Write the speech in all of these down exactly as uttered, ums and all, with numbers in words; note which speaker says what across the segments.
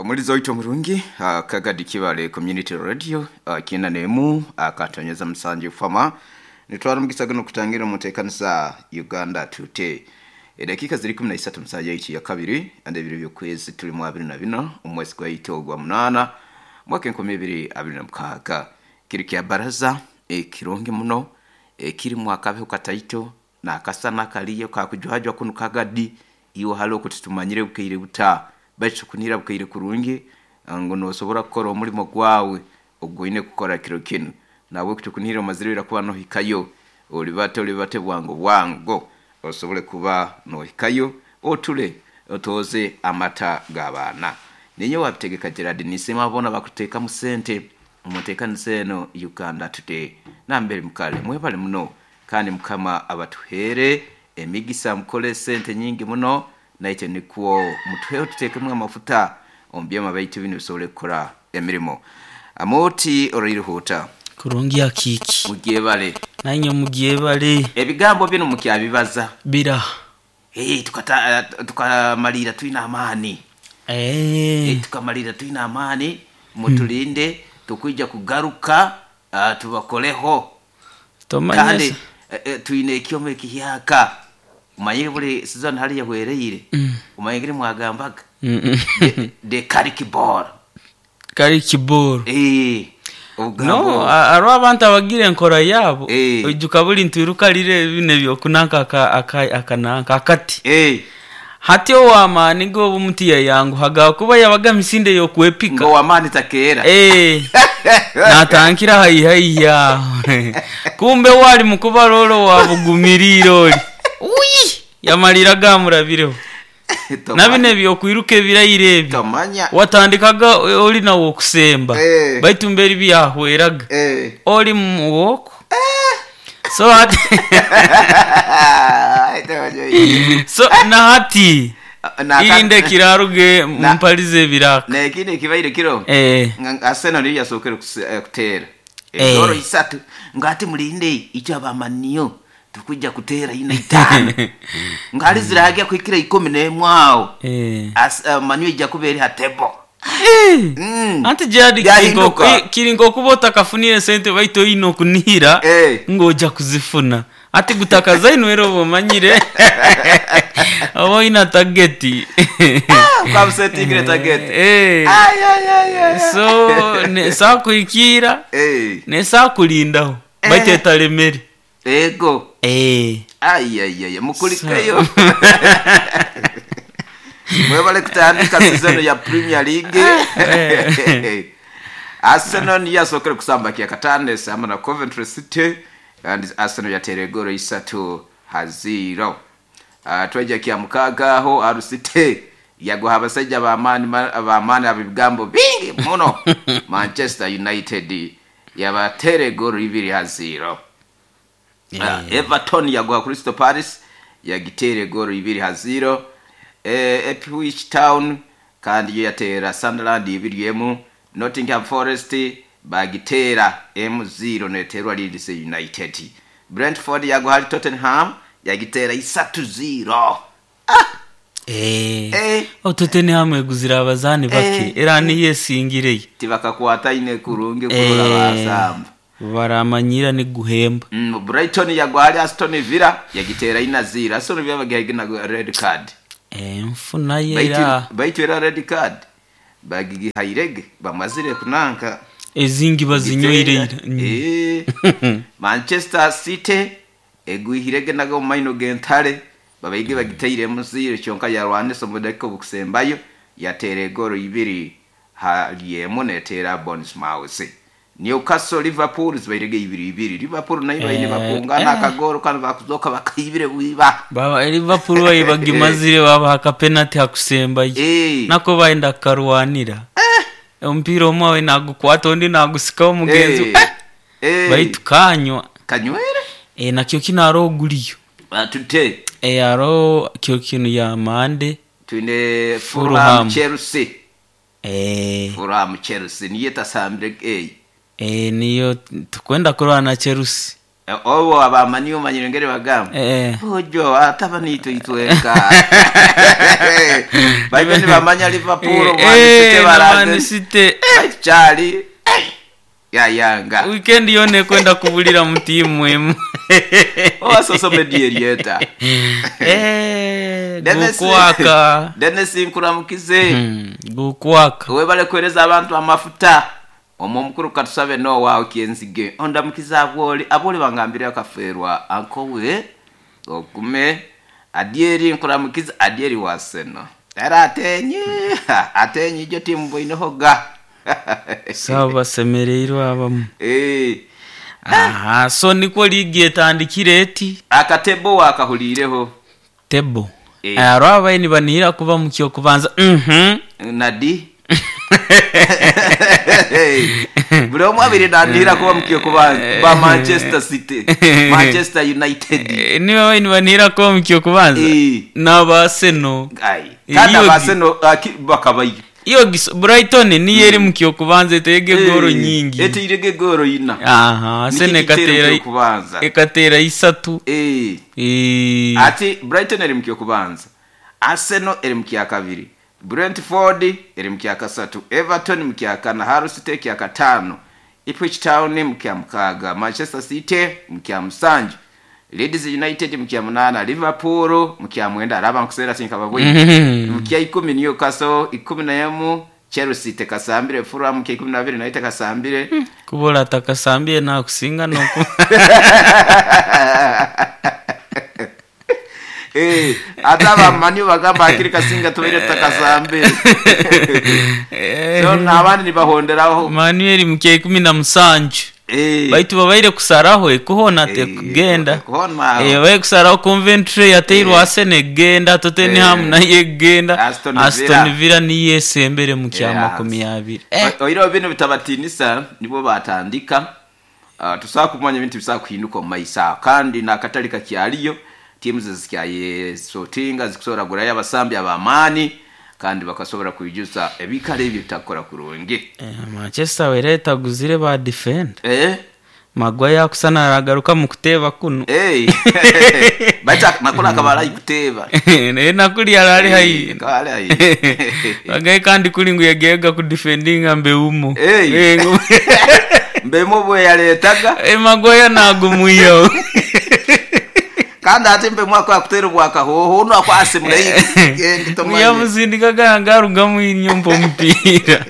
Speaker 1: Omulizi waitu omurungi uh, Kagadi Kibale Community Radio uh, kina nemu akatonyeza musanju fama nitwara mugisa gano kutangira mutekanisa Uganda Today. Edakika ziri kumi na isatu musaja ichi ya kabiri ande ebiro by'okwezi tuli mu abiri na bina omwezi gwa ito gwa munana mwaka enkumi ibiri abiri na mukaaga. Kiri kya baraza ekirungi muno ekirimu akabeho kataito nakasana kaliyo kakujwajwa kunu Kagadi iwe hali okututumanyire bukeire buta baitu kunira bukeire kurungi ngo nosobora kukora omulimo gwawe ogwoine kukora kiro kinu nawe kutukunira omazirira kuba nohikayo olibate olibate bwango bwango osobole kuba nohikayo otule otoze amata g'abaana. Ninye wabitegeka Gerard nisema bona bakuteeka mu sente umutekanise eno Uganda Today. Nambere mukale mwebale muno kandi mukama abatuhere emigisa mukole sente nyingi muno naite nikuo mutuheho tutekemu amafuta omubyama baitu bino bisobole kukora emirimo. Amoti orairuhuta
Speaker 2: kurungi akiki
Speaker 1: mugyebale
Speaker 2: nanye mugyebale
Speaker 1: ebigambo bino mukyabibaza
Speaker 2: bira
Speaker 1: hey, tukata tukamalira twina amaani
Speaker 2: eh
Speaker 1: hey, tukamalira twina amaani mutulinde hmm. Tukwija kugaruka uh, tubakoleho kandi eh, eh, twine ekyoma ekihyaka umanyire buli season hali yahwereire mm. Umanyire mwagambaga mm -mm. De, de karikibor
Speaker 2: karikibor
Speaker 1: eh
Speaker 2: no aro abantu abagira enkora yabo eh. Ojuka buli ntirukalire bine byokunanka aka akananka akati
Speaker 1: eh
Speaker 2: hati owamani go bumutiya yangu haga kuba yabaga misinde yokwepika
Speaker 1: ngo wamani takera
Speaker 2: eh natankira hayi hayi kumbe wali mukubalolo wabugumiriro oli uyi yamalira gamurabireho nabine byokwiruka ebirayire ebi
Speaker 1: tomanya
Speaker 2: watandikaga oli nawo okusemba
Speaker 1: eh.
Speaker 2: Baitu mberi byahweraga
Speaker 1: eh.
Speaker 2: Oli muwoko
Speaker 1: eh.
Speaker 2: So hati so na hati irinde kiraruge mumpalize ebiraka
Speaker 1: nekindi ekibaire kiro
Speaker 2: eh.
Speaker 1: Arsenal niyo yasookere kuteera egoro isatu ngati mulinde icyo abamaniyo tukujja kuteera ina itano ngali ziragya kwikira ikumi n'emwe awo
Speaker 2: eh.
Speaker 1: As, uh, maniyo ijja kuba eri hatebo.
Speaker 2: Mm. Anti jadi kiringo kuba otakafunire sente baitu oyine okunihira
Speaker 1: eh.
Speaker 2: Ng'ojja kuzifuna ati gutakaza ino era oba omanyire oba oyina tageti
Speaker 1: kwabusetingire tageti
Speaker 2: eh.
Speaker 1: Ay, ay, ay, ay.
Speaker 2: So nesakuhikiira
Speaker 1: eh.
Speaker 2: Nesakulindaho
Speaker 1: Eh.
Speaker 2: baitu etalemere
Speaker 1: ego
Speaker 2: eh.
Speaker 1: Ay, ay, ay, mukulikeyo mwebale kutandika season ya Premier League. Arsenal niyo yasookere kusamba kyakataano esamba na Coventry City and Arsenal yateera egoro isatu haziro. Uh, twajja kya mukaaga aho Hull City yaguha abasajja b'amaani b'amaani abigambo bingi muno Manchester United yabateera egoro ibiri haziro.
Speaker 2: Yeah.
Speaker 1: Uh, Everton yaguha Crystal Palace yagiteera egoro ibiri haziro. Eh, Ipswich Town kandi yo yateera Sunderland ibiri emu. Nottingham Forest bagiteera emu zero neterwa Leeds United. Brentford yaguha Tottenham yagiteera isatu zero. Ah!
Speaker 2: Eh.
Speaker 1: Eh.
Speaker 2: O Tottenham eguzira abazaani bake
Speaker 1: Eh.
Speaker 2: era niyo esingireye
Speaker 1: Tibakakwata ine kurungi kurora basamba.
Speaker 2: Baramanyira ni guhemba.
Speaker 1: Mm, Brighton yaguha Aston Villa yagiteera ina zero. Aston Villa bagihagina red card.
Speaker 2: Eh, nfuna yera
Speaker 1: baitu era red card bagihairege bamazire kunanka
Speaker 2: ezingi bazinyoire.
Speaker 1: Eh, Manchester City egwihirege nago maino gentale babaige bagiteire muzire kyonka yarwanise mudakika obukusembayo yateera egoro ibiri halyemu netera Bournemouth. Newcastle Liverpool zibairege ibiri ibiri. Liverpool nayo baine
Speaker 2: Eh,
Speaker 1: bakungana
Speaker 2: eh.
Speaker 1: akagoro kandi bakuzoka bakaibire bwiba
Speaker 2: Baba Liverpool bayibagimazire babaha ka penalty hakusembayo
Speaker 1: Eh.
Speaker 2: nako baenda karwanira eh. Omupiira omwe awe nagukwata ondi nagusikaho mugenzi
Speaker 1: Eh.
Speaker 2: eh.
Speaker 1: Eh.
Speaker 2: Baitu kanywa
Speaker 1: kanywere
Speaker 2: eh, nakyo kino aro oguliyo
Speaker 1: batute
Speaker 2: eh, aro kyo kino ya mande
Speaker 1: twine
Speaker 2: Fulham.
Speaker 1: Fulham Chelsea
Speaker 2: eh,
Speaker 1: Fulham Chelsea niyo tasambire eh
Speaker 2: eh, niyo tukwenda kurwana na Chelsea.
Speaker 1: Obo abamani omanyire ngere bagamba.
Speaker 2: Eh.
Speaker 1: Ojo ataba nito itweka. Baitu nibamanya Liverpool,
Speaker 2: Eh,
Speaker 1: Man City
Speaker 2: eh,
Speaker 1: baraze.
Speaker 2: Man City.
Speaker 1: Baitu kyali ya yanga.
Speaker 2: Weekend yone kwenda kubulira mu timu emu.
Speaker 1: Owa social media eryeta.
Speaker 2: Eh,
Speaker 1: Dennis-
Speaker 2: gukwaka.
Speaker 1: Dennis nkuramukize.
Speaker 2: Hmm, gukwaka.
Speaker 1: Webale kuhereza abantu amafuta. Omwo omukuru katusabe no waawe kyenzige. Ondamukiza abwoli, abwoli bangambire akaferwa ankowe okume adieri nkuramukiza adieri waseno. Era atenyi, atenyi jo timu boinohoga.
Speaker 2: Sawa basemereirwe abamu.
Speaker 1: Eh,
Speaker 2: Aha, so niko ligi etandikire eti
Speaker 1: akatebo wakahulireho
Speaker 2: tebo.
Speaker 1: Eh.
Speaker 2: Aro abaye nibanihira kuba mu kyo kubanza. Mhm.
Speaker 1: nadi buli omu abiri nandihira kuba mukio kubanza ba Manchester City, Manchester United.
Speaker 2: Eh, niba abaye nibanihira kuba mu kyo kubanza.
Speaker 1: Eh.
Speaker 2: N'Abaseno.
Speaker 1: Ai, kandi
Speaker 2: Iyo gi-
Speaker 1: Abaseno aki- bakabayo.
Speaker 2: Iyo giso- Brighton niyo eri mu kyo kubanza etege goro
Speaker 1: Eh,
Speaker 2: nyingi.
Speaker 1: eteirege goro ina.
Speaker 2: Aha, Arsenal
Speaker 1: Niki gitero
Speaker 2: ekatera
Speaker 1: kyo kubanza.
Speaker 2: ekatera isatu.
Speaker 1: Eh,
Speaker 2: Eh.
Speaker 1: ati Brighton eri mukio kubanza, Arsenal eri mukya kabiri, Brentford eri mukya kasatu, Everton mukya kana, Hull City kya katano, Ipswich Town mukya mukaga, Manchester City mukya musanju, Leeds United mukya munana, Liverpool mukya mwenda, araba nkusera sinkababwe
Speaker 2: Mhm.
Speaker 1: mukya ikumi Newcastle, ikumi na emu Chelsea tekasambire, Fulham mukya ikumi na bibiri nayo tekasambire.
Speaker 2: Kubola atakasambye nakusinga noku.
Speaker 1: Eh, ate abamanyi bagamba akiri kasinga tubaire tutakasambire. So n'abandi nibahonderaho.
Speaker 2: Manuel mukya ikumi na musanju.
Speaker 1: Eh,
Speaker 2: Baitu babaire kusaraho ekuhona
Speaker 1: eh,
Speaker 2: tekugenda.
Speaker 1: ekuhona.
Speaker 2: Eh, babaire kusaraho Coventry yateirwe
Speaker 1: Eh.
Speaker 2: Arsenal egenda, Tottenham
Speaker 1: Eh.
Speaker 2: nayo egenda,
Speaker 1: Aston Villa.
Speaker 2: Aston Villa niyo esembere mu kya
Speaker 1: Yes.
Speaker 2: makumi abiri. Eh,
Speaker 1: O- Oireho bino bitabatinisa nibo batandika. Uh, tusobola kumanya ebintu bisobola kuhinduka omu maiso aho kandi n'akatale kakyaliyo tiimu zikyayesotinga zikusobola kugurayo abasambi ab'amaani kandi bakasobola kwijuza ebikalo ebyo bitakukora kurungi.
Speaker 2: eh, Manchester wera etaguzire ba defender.
Speaker 1: Eh?
Speaker 2: Maguire akusana aragaruka mu kuteeba kuno.
Speaker 1: Hey. Baita nakula akabala ikuteeba.
Speaker 2: Naye nakuli arali haihi.
Speaker 1: Kale ayi.
Speaker 2: Bagaye kandi kuli ngu yagega ku defendinga mbeumo.
Speaker 1: Hey.
Speaker 2: Eh, ngu-
Speaker 1: Mbemo bwe yaleetaga
Speaker 2: Eh, Maguire nagumwiyo.
Speaker 1: kandi ate mbemo akakutera obwakahoho ono akwasemura
Speaker 2: Yamuzindikaga ngarugamu inyumba omupiira.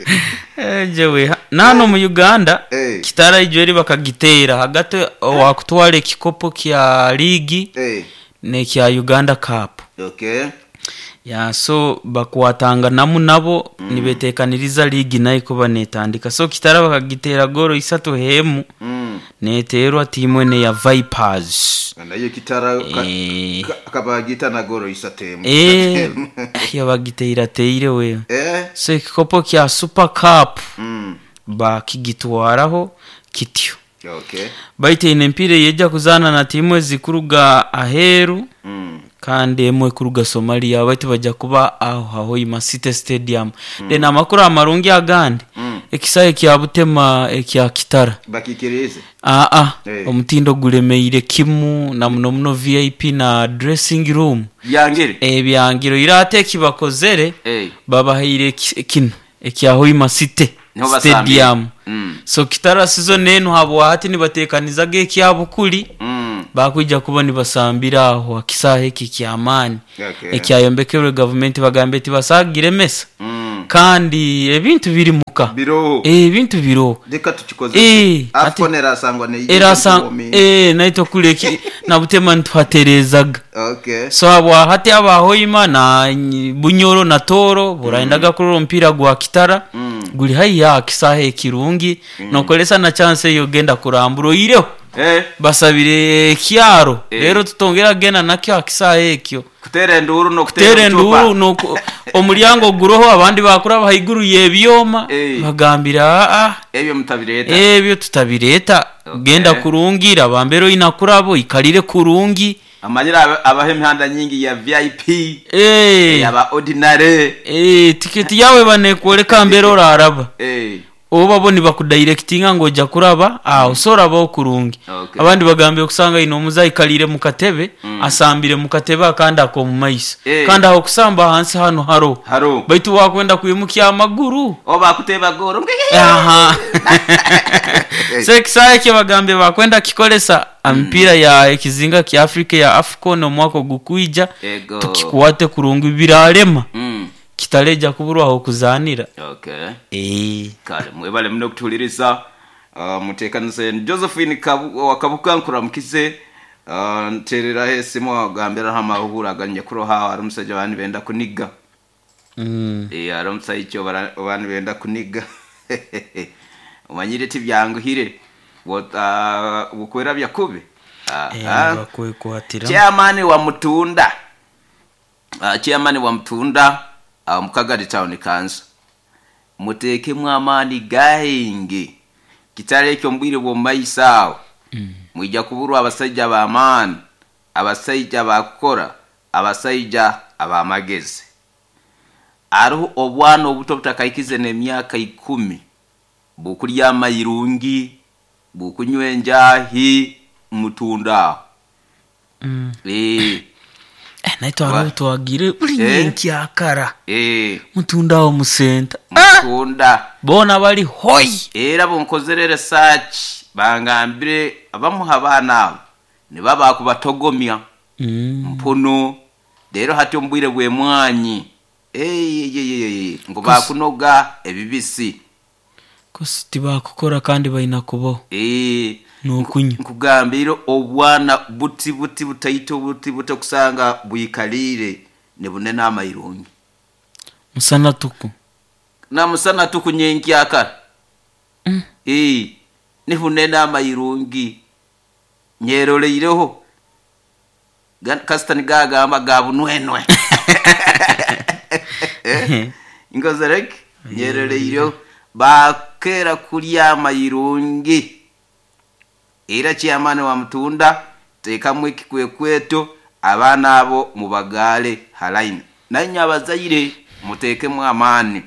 Speaker 2: Eh, jewe nano mu Uganda
Speaker 1: Eh.
Speaker 2: kitara ijweri bakagitera hagati wakutwala ekikopo kya ligi nekya Uganda Cup.
Speaker 1: Okay.
Speaker 2: Ya so bakwatanganamu nabo mm. nibetekaniriza ligi nayo kuba netandika so kitara bakagitera goro isatu hemu
Speaker 1: Mm.
Speaker 2: neterwa timu ene ya Vipers.
Speaker 1: Nayo kitara ka-
Speaker 2: Eh.
Speaker 1: ka- kabagita na goro isatemu.
Speaker 2: Eh, yo bagiteira teire we.
Speaker 1: Eh.
Speaker 2: So ekikopo kya Super Cup
Speaker 1: Mm.
Speaker 2: bakigitwaraho kityo.
Speaker 1: Okay.
Speaker 2: Baiteine empira yejja kuzaana na timu ezikuruga aheeru
Speaker 1: Mm.
Speaker 2: kandi emwe kuruga Somalia baitu bajja kuba aho Hoima City Stadium. Then amakuru amarungi agandi
Speaker 1: Mm.
Speaker 2: ekisae kya Butema ekya Kitara
Speaker 1: Bakikirize.
Speaker 2: aa
Speaker 1: Eh.
Speaker 2: omutindo gulemeire kimu na muno muno V I P na dressing room
Speaker 1: Byangire.
Speaker 2: ebyangiro ira ate ekibakozere
Speaker 1: Eh.
Speaker 2: babahaire eki- kino ekya Hoima City
Speaker 1: Niho basambire.
Speaker 2: Stadium.
Speaker 1: Mm.
Speaker 2: So Kitara season enu habwahati nibatekanizaga ekyabukuli
Speaker 1: Mm.
Speaker 2: bakwija kuba nibasambira aho akisaha eki kyamaani
Speaker 1: Okay.
Speaker 2: ekyayombekerwe gavumenti bagambe tibasagire mesa
Speaker 1: Mm.
Speaker 2: kandi ebintu biri muka
Speaker 1: Biroho.
Speaker 2: Eh, ebintu biroho
Speaker 1: Reka tukikoze.
Speaker 2: Eh,
Speaker 1: Afcon erasangwa ne
Speaker 2: erasa eh naito kuleki nabutema ntwaterezaga
Speaker 1: Okay.
Speaker 2: so habwahati abahoima na nyi- Bunyoro na Toro buraendaga mm. kurora omupiira gwa Kitara
Speaker 1: Mm.
Speaker 2: guli haiya akisaha ekirungi mm. nokolesa na chance eyo genda kurambura oireho
Speaker 1: Eh.
Speaker 2: basabire ekyaro
Speaker 1: Eh.
Speaker 2: rero tutongera genda nakyo akisaha ekyo
Speaker 1: Kutera enduru no kutera
Speaker 2: kutera enduru nuko omulyango guroho abandi bakura haiguru y'ebyoma
Speaker 1: Eh.
Speaker 2: bagambira aa
Speaker 1: Ebyo mutabireta.
Speaker 2: ebyo tutabireta
Speaker 1: Okay.
Speaker 2: genda kurungira bambero inakurabo ikalire kurungi
Speaker 1: Amanyira aba- abaho emihanda nyingi ya V I P.
Speaker 2: eh
Speaker 1: Yaba ordinary.
Speaker 2: eh tiketi yawe banekwoleka mbere oraraba
Speaker 1: Eh.
Speaker 2: Oba bo nibakudirectinga ngu ojja kuraba aho, so orabaho kurungi.
Speaker 1: Okay.
Speaker 2: Abandi bagambire okusanga ine omuzayi aikalire mu katebe, asambire mu katebe akandi ak'omu maiso.
Speaker 1: Eh.
Speaker 2: Kandi aho kusamba ahansi hanu haroho.
Speaker 1: Haroho.
Speaker 2: Baitu wakwenda kwimukya amaguru.
Speaker 1: Oba akuteba goro.
Speaker 2: Aha. So ekisaawe ekyo bagambye bakwenda kikolesa emipiira ya ekizinga kya Africa ya AFCON omwaka ogukwija.
Speaker 1: Ego.
Speaker 2: Tukikwate kurungi birarema.
Speaker 1: Mm.
Speaker 2: Kitareja kuburwaho kuzaanira.
Speaker 1: Okay.
Speaker 2: Eh.
Speaker 1: Kale mwebale muno kutuhuliriza. Uh, muteekanise Josephine Kabu, Wakabuka nkuramukize. Uh, ntereraho esimu agambiraho amahura aganyekuroha hari omusajja bani benda kuniga.
Speaker 2: Mm.
Speaker 1: Eh, hari omusajja bani benda kuniga. Omanyire tibyanguhire. Bwota bukwera byakubi.
Speaker 2: Eh,
Speaker 1: Ah.
Speaker 2: bakwekwatira.
Speaker 1: Chairman wa Mutunda. Uh, chairman wa Mutunda uh, Mukagadi Town Council. Muteekemu amaani gaingi. Kitale ekyo mbwire bw'omu maiso awo.
Speaker 2: Mm.
Speaker 1: Mwija kuburwa abasajja b'amaani, abasajja bakukora, abasajja ab'amagezi. Hariho obwana obuto butakaikize n'emyaka ikumi bukurya amayirungi, bukunywa enjahi mutunda aho.
Speaker 2: Mm.
Speaker 1: Eh,
Speaker 2: Eh, naitwe hariho twagire buli
Speaker 1: Eh.
Speaker 2: nyenkyakara.
Speaker 1: eh,
Speaker 2: Mutunda aho musenta.
Speaker 1: mutunda.
Speaker 2: Boona bali hoi.
Speaker 1: Era bunkozere research bangambire abamuha abaana abo niba bakubatogomya
Speaker 2: Mm.
Speaker 1: mpuno rero hati ombwire bw'emwanyi eyeyeyeye ngo bakunoga ebibisi.
Speaker 2: Kosi tibakukora kandi balina kubaho.
Speaker 1: Eh,
Speaker 2: N'okunywa.
Speaker 1: nkugambire obwana buti buti butaito buti buto kusanga bwikalire nibunene amayirungi.
Speaker 2: Musana tuku.
Speaker 1: Namusana tukunyenkyakara.
Speaker 2: Mm.
Speaker 1: Eh, nihunene amayirungi nyeroleireho kasita nigagamba gabunwenwe inkozereke nyeroleireho bakera kulya amayirungi. Era chairman wa Mutunda teekamu ekikwekweto abaana abo mubagaale halaini nanye abazaire muteekemu amaani.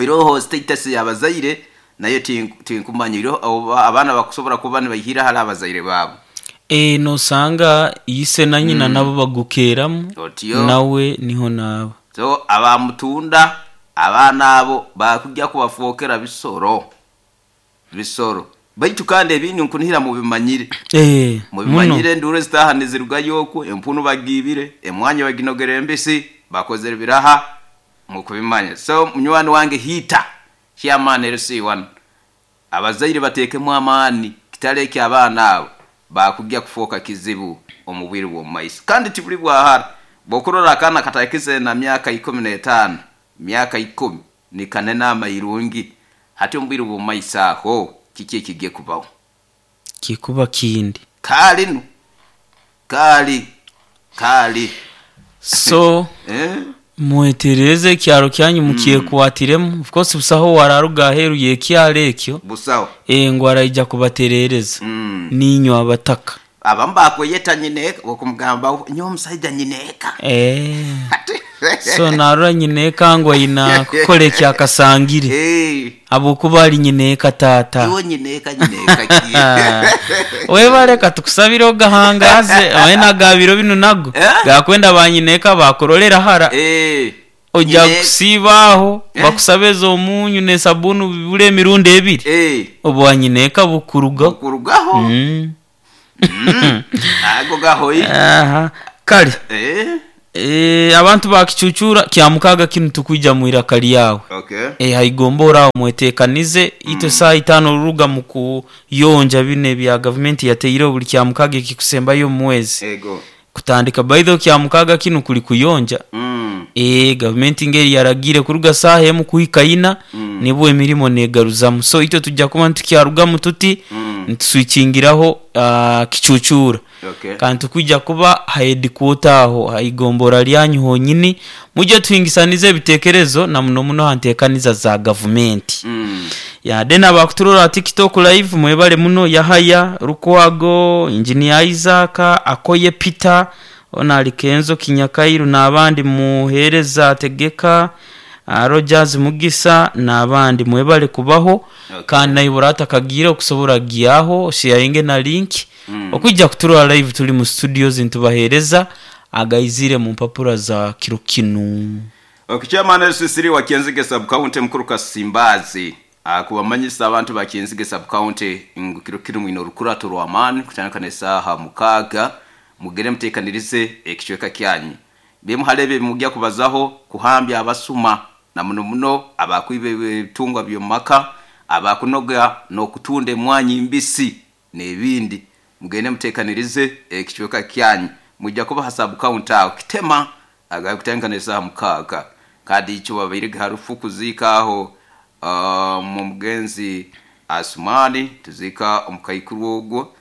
Speaker 1: Iroho status y'abazaire nayo tinku- tinkumanya iroho abo abaana bakusobola kuba nibaihira hali abazaire baabo.
Speaker 2: Eh, nosanga ise na nyina nabo bagukeramu.
Speaker 1: Otyo.
Speaker 2: Nawe niho naba.
Speaker 1: So abamutunda abaana abo bakujja kubafookera bisoro bisoro baitu kandi ebintu nkunihira mubimanyire.
Speaker 2: Eh, muno.
Speaker 1: Mubimanyire enduru ezitahani zirugayo okwo empunu bagibire emwanya baginogera embisi bakozere biraha mukubimanya. So munywani wange hiita chairman L C one, abazaire bateekemu amaani kitaleke abaana abo bakujja kufuuka kizibu omu bwire bw'omu maiso kandi tibuli bwahara. Bwokurora akaana katakize na myaka ikumi n'etaano, myaka ikumi nikanene amayirungi hati omu bwire bw'omu maiso aho kiki ekigiye kubaho?
Speaker 2: Kikuba kindi.
Speaker 1: Kaali nu kaali kaali.
Speaker 2: So
Speaker 1: eh?
Speaker 2: mwetereze ekyaro kyanyu mukyekwatiremu. Of course busaho wararuga aheeru y'ekyaro ekyo.
Speaker 1: Busaho.
Speaker 2: Eh, ngu araija kubaterereza.
Speaker 1: Mm.
Speaker 2: Ninywe abataka.
Speaker 1: Abamu bakweyeta nyineeka okumugamba nyowe omusajja nyineeka.
Speaker 2: Eh. So narora nyineeka ngu aina kukora ekyakasangire.
Speaker 1: Eh,
Speaker 2: Habwokuba ali nyineeka taata.
Speaker 1: iwe nyineeka nyineeka ki?
Speaker 2: Webale tukusabire ogahangaze oe nagabiro binu nago
Speaker 1: Eh?
Speaker 2: gakwenda banyineeka bakurolera hara.
Speaker 1: Eh,
Speaker 2: Ojja
Speaker 1: nyine-
Speaker 2: kusiibaaho
Speaker 1: Eh?
Speaker 2: bakusabe ez'omunyu n'esabuni bibura emirundi ebiri.
Speaker 1: Eh,
Speaker 2: Obwanyineeka bukurugaho.
Speaker 1: bukurugaho.
Speaker 2: Mm.
Speaker 1: Ago gahoyi.
Speaker 2: Aha. Kale
Speaker 1: Eh,
Speaker 2: eh, abantu bakicucura kyamukaga kinu tukwija mu iraka lyawe.
Speaker 1: Okay.
Speaker 2: Eh, haigomba oraho mwetekanize itwe saa itaano oruruga mu kuyonja bino ebya gavumenti yateireho buli kyamukaga ekikusembayo omu mwezi.
Speaker 1: Ego.
Speaker 2: Kutandika baitho kyamukaga kinu kuli kuyonja.
Speaker 1: Mm.
Speaker 2: E, gavumenti ngeri yaragire kuruga saaha emu kuhika ina.
Speaker 1: Mm.
Speaker 2: Nibwo emirimo negaruzamu, so itwe tujja kuba ntukyarugamu tuti
Speaker 1: Mm.
Speaker 2: ntuswikingiraho uh, kicucura.
Speaker 1: Okay.
Speaker 2: Kandi tukwijja kuba haedikuota aho haigombora lyanyu honyini mujye tuhingisanize ebitekerezo na muno muno hantekaniza za gavumenti.
Speaker 1: Mm.
Speaker 2: Ya then abakuturora TikTok live mwebale muno: Yahaya Rukwago, Engineer Isaac Akoye, Peter ona ali Kenzo Kinyakairu n'abandi. Muhereza Tegeka uh, Rogers Mugisa n'abandi mwebale kubaho.
Speaker 1: Okay.
Speaker 2: Kandi naibura atakagira okusobora gyaho sharinge na link
Speaker 1: Mm.
Speaker 2: okwijja kuturora live tuli mu studios ntubahereza agaizire mu mpapura za kiro kinu.
Speaker 1: Okay, chairman Sisiri wa Kyenzige sub county mukuru Kasimbazi akubamanyisa abantu ba Kyenzige sub county ngu kiro kinu mwine orukurato rw'amaani kutandika n'esaaha mukaaga mugere muteekanirize ekicweka kyanyu bimuharebe mujya kubazaho kuhambya abasuma na muno muno abakwiba ebitungwa by'omu maka, abakunoga n'okutunda emwanyi mbisi n'ebindi. Mugende muteekanirize ekicweka kyanyu, mujja kuba ha sub county aho kitema agakutandika n'esaaha mukaaga. Kandi icyo babaire harufu kuziika aho uh, mu mugenzi Asumani tuzika omukaikuru ogwo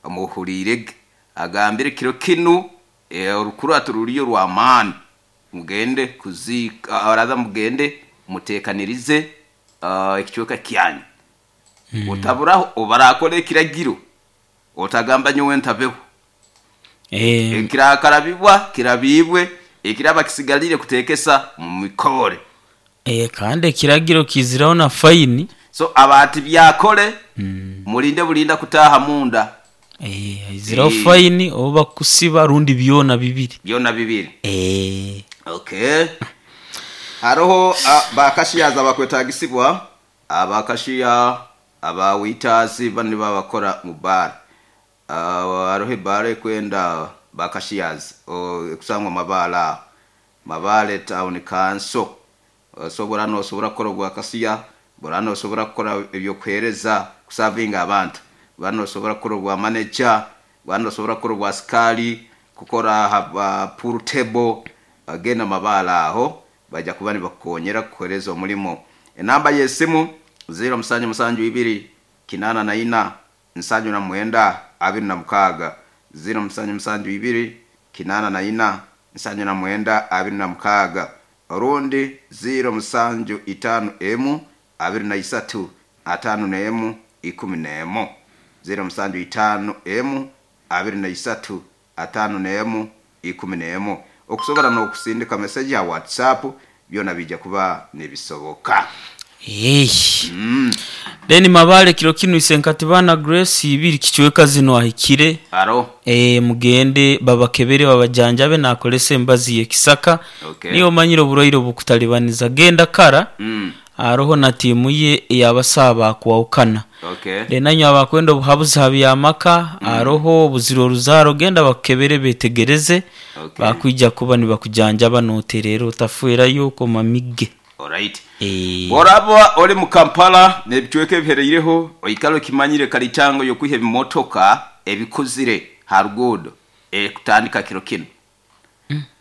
Speaker 1: muhuriirege agambire kiro kinu eh, orukurato ruriyo rw'amaani mugende kuziika araza mugende muteekanirize uh, ekicweka kyanyu mm. Otaburaho obarakora ekiragiro otagamba nyowe ntabeho.
Speaker 2: Eh,
Speaker 1: ekirakarabibwa kirabibwe, ekiraba kisigalire kutekesa mu mikore.
Speaker 2: Eh, kandi ekiragiro kiziraho na faini.
Speaker 1: So abati byakole mm. Mulinde bulinda kutaha munda.
Speaker 2: Eh, iziraho
Speaker 1: Eh.
Speaker 2: faini oba kusiba rundi byona bibiri.
Speaker 1: Byona bibiri.
Speaker 2: Eh,
Speaker 1: okay, haroho uh, bakashiyaza bakwetagisibwa, abakashiya, abawitazi bani babakora mu bar. uh, haroho ebara ekwenda bakashiyazi ekusangwa mabala Mabale Town Council. Osobora nosobora kukora obwakasiya, bora nosobora kukora ebyokuhereza kusavinga abantu, bora nosobora kukora obwa manager, bora nosobora kukora obwa askari, kukora ha pool table. Agenda mabala aho bajja kuba nibakukonyera kukuhereza omulimo. Enamba y'esimu zero musanju musanju ibiri kinana na ina nsanju na mwenda abiri na mukaaga, zero musanju musanju ibiri kinana na ina nsanju na mwenda abiri na mukaaga, orundi zero musanju itano emu abiri na isatu atano n'emu ikumi n'emu, zero musanju itano emu abiri na isatu atano n'emu ikumi n'emu. Okusobora n'okusindika meseji ya WhatsApp byona bijja kuba nibisoboka.
Speaker 2: Eh.
Speaker 1: mm.
Speaker 2: Then Mabale kiro kinu isenkatibana Grace ibiri kichweka zino ahikire.
Speaker 1: Aro.
Speaker 2: Eh, mugende babakebere babajanjabe nakolesa embazi y'ekisaka.
Speaker 1: Okay.
Speaker 2: Niyo manyire oburwaire obukutalibaniza genda kara.
Speaker 1: mm.
Speaker 2: Aroho na tiimu ye ey'abasaaba akwawukana.
Speaker 1: Okay.
Speaker 2: Then abakwenda obuhabuzi ha byamaka mm. Aroho obuziro oruzaaro genda bakukebere betegereze.
Speaker 1: Okay.
Speaker 2: Bakwija kuba nibakujanjaba noterera otafuerayo okoma mige.
Speaker 1: Alright.
Speaker 2: Eh,
Speaker 1: Boraba oli mu Kampala n'ebicweka ebihereireho oikale okimanyire kalitango y'okwiha ebimotoka ebikuzire ha ruguudo ekutandika kiro kinu.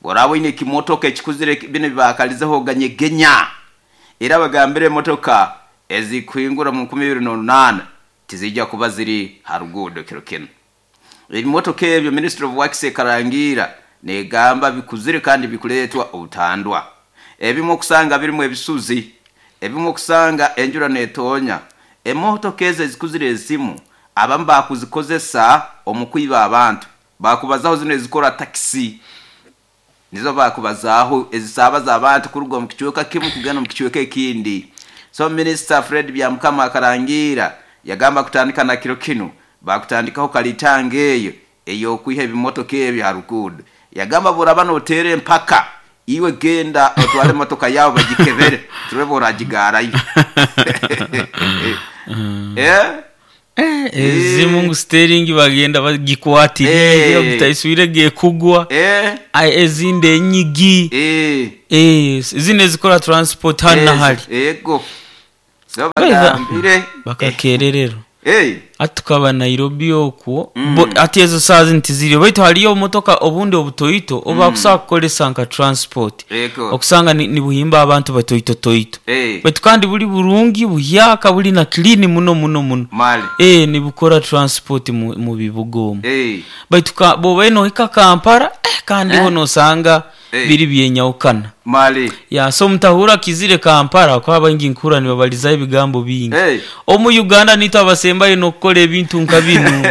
Speaker 1: Boraba oine ekimotoka ekikuzire bino bibakalizeho ganyegenya era bagambire emotoka ezikuhingura mu nkumi ibiri n'orunaana tizijja kuba ziri ha ruguudo kiro kinu. Ebimotoka ebyo Ministry of Works ekarangira negamba bikuzire kandi bikuleetwa obutandwa, ebimu okusanga birimu ebisuzi, ebimu okusanga enjura netonya. Emotoka ezo ezikuzire ezimu abamu bakuzikozesa omu kwiba abantu, bakubazaho zino ezikora takisi nizo bakubazaho ezisaabaza abantu kuruga omu kicweka kimu kugenda omu kicweka ekindi. So Minister Fred Byamukama akarangira yagamba kutandika na kiro kinu bakutandikaho kalitanga eyo ey'okwiha ebimotoka ebyo ha ruguudo. Yagamba buraba noteera empaka iwe genda otwale emotoka yawe bagikebere turebe oragigarayo. Eh?
Speaker 2: Eh, ezimu ngu steering bagenda bagikwatirire
Speaker 1: Eh.
Speaker 2: ogitaiswire gekugwa.
Speaker 1: Eh?
Speaker 2: Ai, ezindi enyigi.
Speaker 1: Eh.
Speaker 2: Eh, zino ezikora transport hano
Speaker 1: Eh,
Speaker 2: nahali.
Speaker 1: Ego so
Speaker 2: Baiza-
Speaker 1: bagambire
Speaker 2: bakakererero.
Speaker 1: Eh.
Speaker 2: Ati tukaba Nairobi okwo
Speaker 1: Mm.
Speaker 2: bo- ati ezo saa zino tiziriyo baitu haliyo obumotoka obundi obutoito obakusobola kukolesa nka transport.
Speaker 1: Ego.
Speaker 2: Okusanga ni, nibuhimba abantu batoitotoito.
Speaker 1: Eh.
Speaker 2: Baitu kandi buli burungi buhyaka buli na clean muno muno muno.
Speaker 1: Mali.
Speaker 2: Eh, nibukora transport mu, mu bibuga omwo.
Speaker 1: Eh.
Speaker 2: Baitu ka- bw'obaire nohika Kampala eh, kandi
Speaker 1: Eh.
Speaker 2: ho nosanga
Speaker 1: Eh.
Speaker 2: biri byenyawukana.
Speaker 1: Mali.
Speaker 2: Ya so mutahura kizire Kampala kwa baingi nkura nibabalizaho ebigambo bingi.
Speaker 1: Eh.
Speaker 2: Omu Uganda nitwe abasembayo n'okukora ebintu nka bino,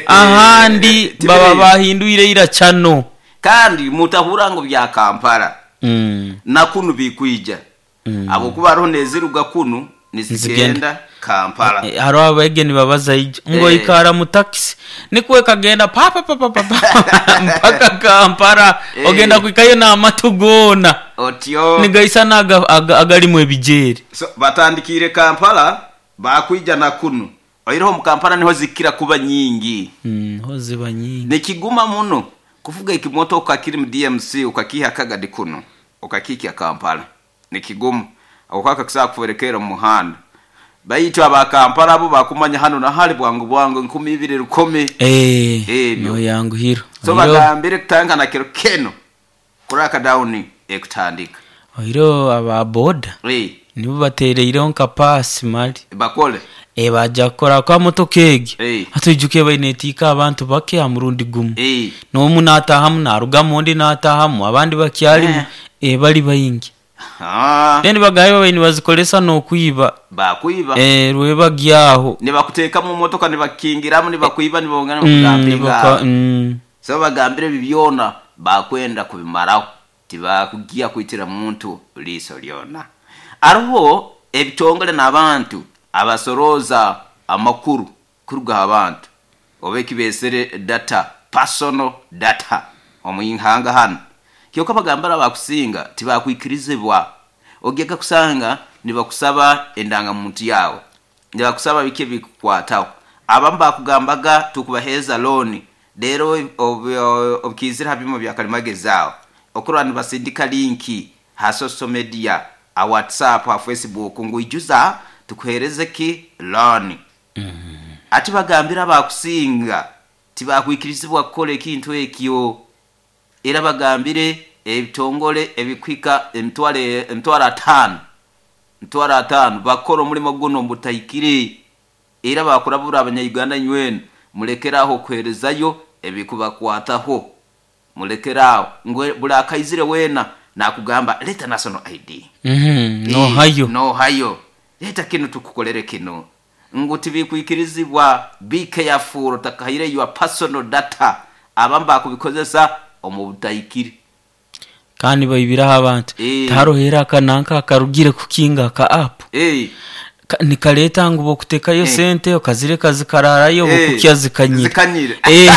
Speaker 2: ahandi baba bahindwire ira kyano.
Speaker 1: Kandi mutahura ngo bya Kampala
Speaker 2: mm.
Speaker 1: nakunu bikwija. mm. Abokuba hariho neziruga kunu nizigenda Kampala.
Speaker 2: E, hariho abege nibabaza ijo ngo
Speaker 1: Eh.
Speaker 2: ikara mu taxi nikwe kagenda pa pa pa pa pa pa, mpaka Kampala.
Speaker 1: Eh.
Speaker 2: Ogenda kwikayo n'amatu goona
Speaker 1: Otyo
Speaker 2: nigaisa n'aga- aga- agalimu ebijere.
Speaker 1: So, batandikire Kampala bakwija na kunu oireho mu Kampala niho zikira kuba nyingi.
Speaker 2: Mm, ho ziba nyingi.
Speaker 1: Nikiguma muno kuvuga ekimotoka kiri mu D M C ukakiha kagadi kuno ukakikia Kampala nikigumu ako kusaa kuferekera mu muhanda baitu aba Kampala abo bakumanya hano na hali bwangu bwangu nkumi ibiri rukumi.
Speaker 2: Eh,
Speaker 1: Ebyo.
Speaker 2: no yanguhiro.
Speaker 1: So bagambire kutanga na kero keno kuraka down ekutandika
Speaker 2: Oiro aba boda
Speaker 1: eh
Speaker 2: nibo batereireho nka pasi mali
Speaker 1: bakole
Speaker 2: e bajja kukora kwa motoka egi.
Speaker 1: Eh.
Speaker 2: Atuijuke bainetiika abantu bake ha murundi gumu.
Speaker 1: Eh
Speaker 2: n'omu n'ataahamu n'arugamu ondi n'ataahamu abandi bakyalimu.
Speaker 1: Eh.
Speaker 2: E bali baingi.
Speaker 1: Ah
Speaker 2: then bagaye babaire nibazikoresa n'okwiba.
Speaker 1: Bakwiba.
Speaker 2: E rwebagyaho
Speaker 1: nibakuteeka mu motoka nibakingiramu nibakwiba nibongana
Speaker 2: Mm,
Speaker 1: nibakugambinga.
Speaker 2: nibaka- mm.
Speaker 1: So bagambire bibyona bakwenda kubimaraho tibakugia kwitira muntu liso lyona. Ariho ebitongole n'abantu abasoroza amakuru kuruga abantu oba ekibesere data personal data omuihanga hano kyoka bagambira abakusinga tibakwikirizibwa ogeka kusanga nibakusaba endangamuntu yawe nibakusaba bike bikukwataho abamu bakugambaga tukubaheeza looni rero obukizira ha byuma bya kalimagezi aho okurwa nibasindika linki ha social media ha WhatsApp ha Facebook ngu ijuza tukuhereze ki looni. Ati bagambira abakusinga tibakwikirizibwa kukora ekintu ekyo era bagambire ebitongole ebikwika emitwaro emitwaro ataano emitwaro ataano bakora omulimo guno mbutahikire era bakurabura abanyayuganda nywena mulekeraho kuherezayo ebikubakwataho mulekeraho ngwe buli akaizire wena nakugamba leta national I D.
Speaker 2: Mhm, nohayo.
Speaker 1: Nohayo leta kino tukukolere kino ngu tibikwikirizibwa be careful takahire your personal data abamu bakubikozesa omu butahikire
Speaker 2: kandi baibiraho abantu.
Speaker 1: Eh.
Speaker 2: Tarohera akananka akarugire kukinga ka app.
Speaker 1: Eh.
Speaker 2: Ka-, nikaleta ngu bokutekayo
Speaker 1: Eh.
Speaker 2: sente okazireka zikararayo
Speaker 1: Eh.
Speaker 2: bokukya zikanyira.
Speaker 1: Zikanyira.
Speaker 2: Eh.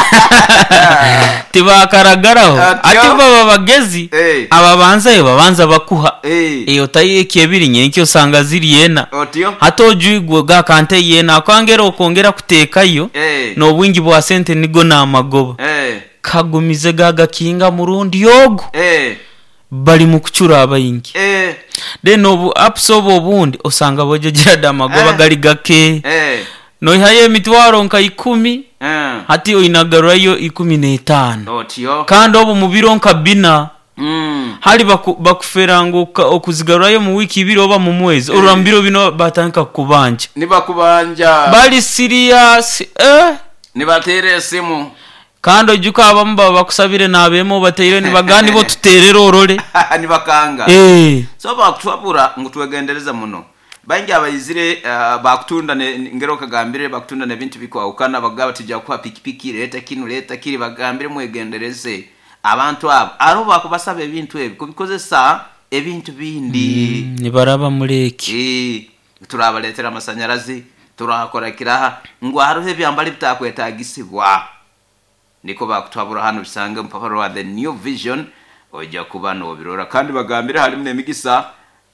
Speaker 2: Tibakaragaraho.
Speaker 1: Atyo.
Speaker 2: Ati baba bagezi
Speaker 1: Eh.
Speaker 2: ababanzayo babanza bakuha.
Speaker 1: Eh.
Speaker 2: Eh, otayieka ebiri nyenkyo osanga ziri ena.
Speaker 1: Otyo.
Speaker 2: Hata ojwigwe gakante yena akwangera okongera kutekayo
Speaker 1: Eh.
Speaker 2: n'obwingi bwa sente nigo n'amagoba.
Speaker 1: Eh.
Speaker 2: Kagumize gagakinga murundi yogo.
Speaker 1: Eh.
Speaker 2: Bali mu kucura abayingi.
Speaker 1: Eh.
Speaker 2: Then obu apps obu obundi osanga bojojera da magoba
Speaker 1: Eh.
Speaker 2: gali gake.
Speaker 1: Eh.
Speaker 2: Noihayo emitwaro nka ikumi.
Speaker 1: Eh.
Speaker 2: Hati oinagarurayo ikumi n'etaano.
Speaker 1: Otyo.
Speaker 2: Kandi obu mu biro nka bina.
Speaker 1: Mm.
Speaker 2: Hali baku-, bakufera ngu oka-, okuzigarurayo mu wiki ibiri oba mu mwezi.
Speaker 1: Eh.
Speaker 2: Orwa mu biro bino batandika kukubanja.
Speaker 1: Nibakubanja.
Speaker 2: Bali serious, eh.
Speaker 1: Nibatere esimu.
Speaker 2: Kandi ojuka abamu baba bakusabire n'abemo bateire nibagani bo tuterere orole.
Speaker 1: Nibakanga.
Speaker 2: Eh.
Speaker 1: So bakutwabura ngu twegendereza muno. Baingi abayizire, uh, bakutunda ne ngero kagambire bakutunda ne bintu bikwawukana bagaba tujja kuha pikipiki leta kino leta kiri bagambire mwegendereze abantu abo aro bakubasaba ebintu ebi kubikozesa ebintu bindi.
Speaker 2: Mm, nibaraba mureki.
Speaker 1: Eh, turabaletera amasanyarazi turakora kiraha ngo hariho ebyambali bitakwetagisibwa. Niko bakutwabura hano bisange mpapuro wa The New Vision ojja kuba nobirora kandi bagambire halimu n'emigisa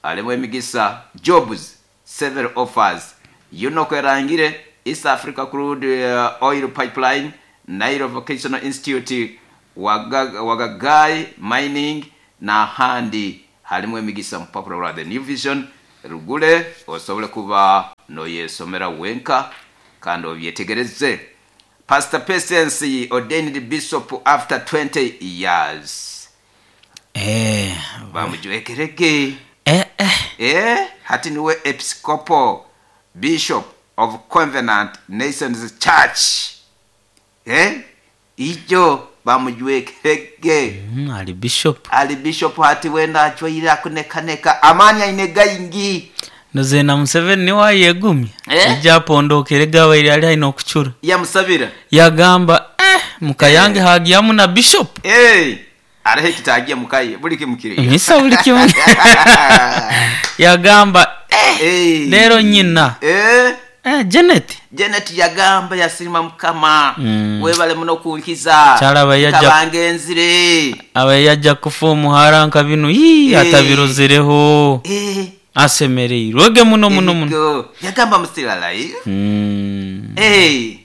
Speaker 1: halimu emigisa jobs several offers yuno kwerangire East Africa Crude, uh, Oil Pipeline Nile Vocational Institute Waga-, Wagagai Mining na handi halimu emigisa mpapuro wa The New Vision rugule osobole kuba noyesomera wenka kandi obyetegereze. Pastor Patience ordained bishop after twenty years.
Speaker 2: Eh.
Speaker 1: Bamujwekereke.
Speaker 2: Eh, eh.
Speaker 1: Eh, hati niwe Episcopal Bishop of Covenant Nations Church. Eh? Ijo bamujwekereke.
Speaker 2: Mm, ali bishop.
Speaker 1: Ali bishop hati wenda achwaira kunekaneka amani aine gaingi.
Speaker 2: Noze na Museveni niwe ayegumya.
Speaker 1: Eh?
Speaker 2: Ijja apondokere gabaire ali aine okucura.
Speaker 1: Yamusabira.
Speaker 2: Yagamba, eh, mukayange
Speaker 1: Eh.
Speaker 2: hagiyamu na bishop.
Speaker 1: Eh. Arehe kitagiye mukaye buli kimukiri.
Speaker 2: Misa buli kimu. Yagamba
Speaker 1: Eh.
Speaker 2: lero nyina
Speaker 1: Eh.
Speaker 2: eh, Janet
Speaker 1: Janet yagamba yasirima mukama
Speaker 2: Mm.
Speaker 1: webale muno kunkiza
Speaker 2: Kyalaba yajja-
Speaker 1: kabangenzire
Speaker 2: aba yajja kufa omuhara nka bino ii
Speaker 1: Eh.
Speaker 2: atabirozereho
Speaker 1: Eh,
Speaker 2: asemereirwege muno muno muno
Speaker 1: eriko. Yagamba I'm still alive.
Speaker 2: Mm.
Speaker 1: Eh.